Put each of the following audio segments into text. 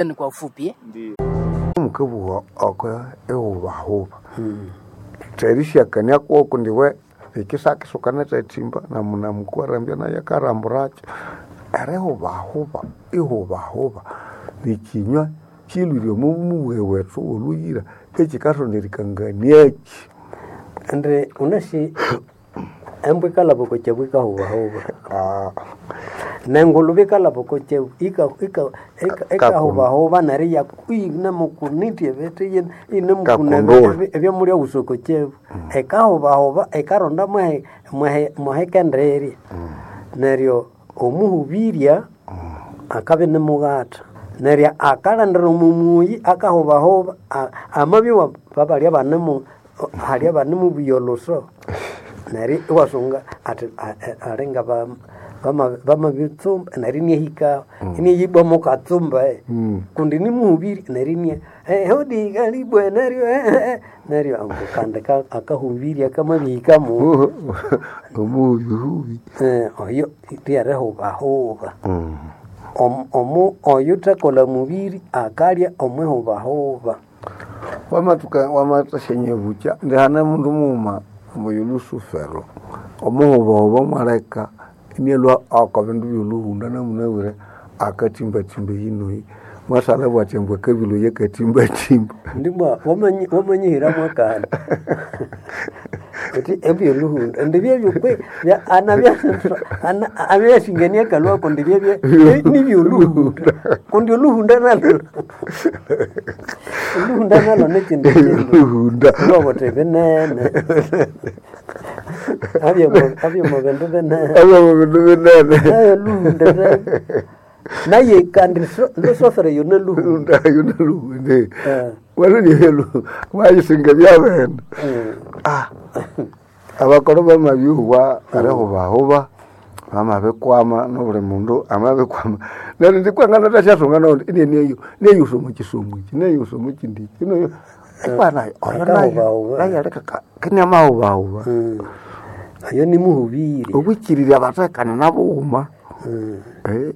Ni kwa ufupi. Mukabugha oko ehubahuba terishakania kwoko ndiwe ikisakisuka netethimba namunamukwarambya naye akaramburakyo erihubahuba ihubahuba nikinywa kilwire omo mubughe wethu woluyira ekikathonderikanganiaki. Indi unasi embwa ikalhaba okwa kyabu ikahubahuba nengulube ikalhaba okwa kyabu ikahubahuba neryo iyinemukunitya ebithi iyinemukuna Kakundula. ebyamulya wusa okwa kyabu ikahubahuba ikaronda mwahe mwahikendirya neryo omuhubirya akabya inimughatha neryo akalhandira omo muyi akahubahuba amabya babalya banemu halya banemubuya olhuso neryo iwasunga athi alinga bamabitsumba neryo inihikaho iniyibwa mukatsumba kundi nimuhubiri neryo inia hodi kalibwe neryo neryo ambu kandi akahubirya kamabihikamu Omuhubihubi. Oyo lyerihubahuba omu oyuthakolha mubiri akalya omwihubahuba. Wamathuka wamathasya bukya ndihane mundu mughuma oyo Lusufero omuhubahuba mwaleka inalhwa oko bindu byolhuhunda namunabwire akathimbathimba eyinoyi mwasalha bwathi ambu akabilhwa eyakathimbathimba. Ndibwa wamanyihira mwakandi uthi ebyolhuhunda indi byebyo kwe anabya akalhwa kundi byebye nibyolhuhunda kundi olhuhunda nalyo olhuhunda nalyo nikyindi kindu Olhuhunda. lwabuthi binene abyemo bindu binene Abyamo bindu binene. nayo olhuhunda naye kandi lusofere yona luhunda. Lhuhunda yona luhunda. Eh. Walunihelu wayisinga byabene. Abakoro bamabyuhwa erihubahuba bamabikwama nobuli mundu amabikwama neryo ndikwangana thasyasunga naundi ineneyo neyusa omo kisomo iki neyusa omo kindi iki neyo ikwa nayo oyo nayo Akahubahuba. nayo aleka kiniamahubahuba. Oyo nimuhubiri. Obwikirirya bathekane nabughuma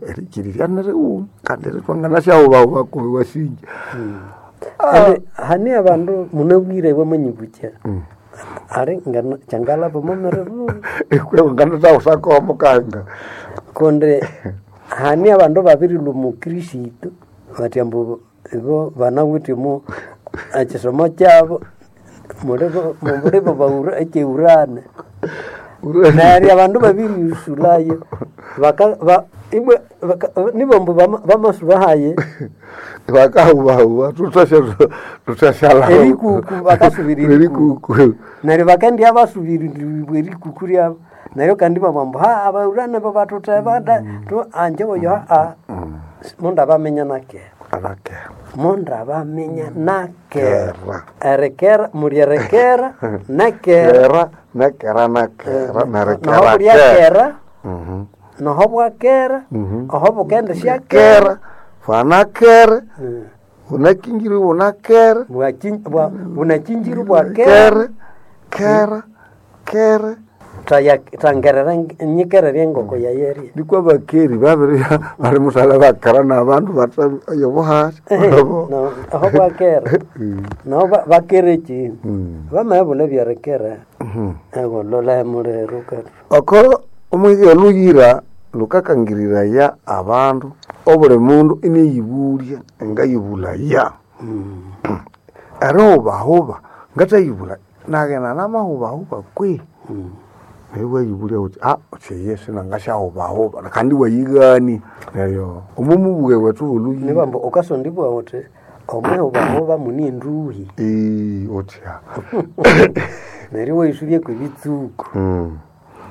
erikirirya nirighuma kandi ritwangana syahubahuba kubi wasinja. Indi hane abandu munabwire bamanyibukya ali ngana kyangalhaba momiribu Ikwangana thawusako mukanga. kundi hane abandu babirilhwa omu kristo bathi ambu ibo banawithe omu ekisomo kyabo mulibo mulibo baura ekyeurane neryo abandu babirighusulayo baka ba ibwe baka nibo ambu bamasubahaye Bakahubahuba thuthasya erikuku bakasubira erikuku erikuku. neryo bakendya basubiririrwa erikuku ryabo neryo kandi babugha ambu ha abaurane bo bathutheba da anje oyo haa mundabaminya nakera Anakera. mundabaminya nakera Kera. erikera muli erikera nakera Kera nekera nakera noho nerekera bulya kera. kera noho bwakera oho bukende syakera Kera fanakera bunakingiri bunakera bunakinjiru bwakera kera kera kera thangerera nyikererya engoko yayerya nikwa bakeri babiri bali musala bakera nabandu batha oyo buhasi aho bwakera naho bakera ekindu bamabulha ebyerikera egolola muliro kati oko omwigi oluyira lukakangiriraya abandu obuli mundu iniyibulya ngayibulaya erihubahuba ngathayibula naghenda namahubahuba kwi neryo iwayibulya wuthi uthi eyi sinangasyahubahuba kandi iwayighani neryo omo mubughe wethu woluyira nibamba ukasondibwa uthi omwihubahuba mune enduhi uthya neryo iwayisubya kwebitsuku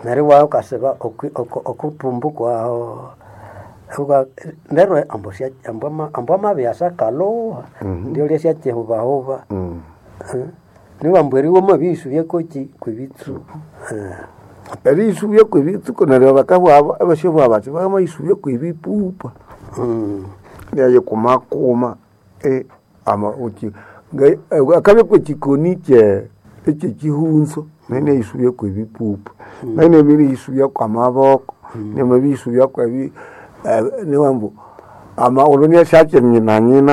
neryo iwaya ukasiba okuthumbu kwahu neryo ambu ambu amabya asyakalhuha ndyolya syakyihubahuba niwamba eri wamabiyisubya kweki kwebitsuku. Eriyisubya kwebitsuku neryo bakabugha abasyabugha bathi bamayisubya kwebipupa neyikumakuma akabya kwekikoni ekyekihunzo neneyisubya kwebipupa nayo nemibiyisubya kwamaboko nemabiyisubya kwebi niwambu Ama uno ni syakye nyina nyina.